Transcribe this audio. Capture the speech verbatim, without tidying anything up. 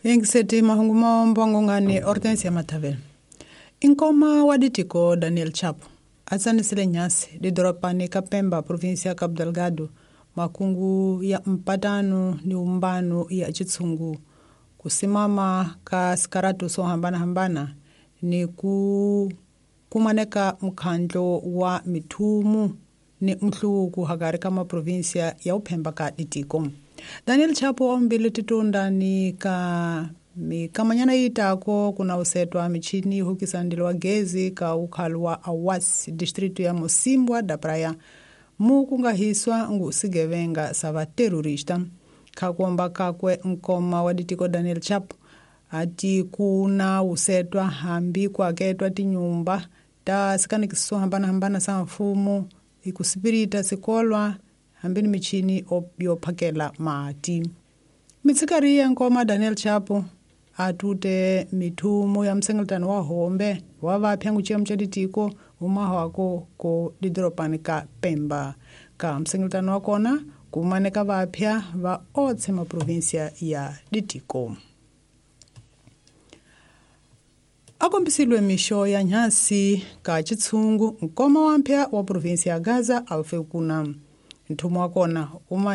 Yingiseti mahungu maombongo ngani Hortensia Matavela. Inkoma wa ditiko Daniel Chapo atsanisile nyasi didorobani ka Pemba provinsi ya Cabo Delgado makungu ya mpatano ni umbano ya chitsungu kusimama ka sikaratu swo hambanahambana ni ku kumaneka mkhandlo wa mithumu ni mhluku hakari ka maprovinsia ya uphemba ka ditiko. Daniel Chapo ombile titunda ni ka mikamanyana yitako kuna usetwa michini hukisa ndilo wa gezi ka ukhalu wa Awas distritu ya Mosimbwa da Praia mu kungahiswa ngu sigevenga sa vaterrorista. Khakuomba kakwe nkoma wa ditiko Daniel Chapo ati kuna usetwa hambi kuaketwa tinyumba ta sikanikiso hambanahambana sa mfumo ikusipirita sikolwa hambi ni michini yophakela mati. Mitsikari ya nkoma Daniel Chapo atute mithumu ya msengeletano wa hombe wa vapya nguciya cha ditiko umahwako ko didoropani ka Pemba. Ka msengeletano wa kona kumaneka vapya va otse maprovinsia ya ditiko. Akombisilwe mixo ya nyasi ka chitsungu nkoma wa mpya wa provinsia ya Gaza alfekuna. Nthumu wa kona uma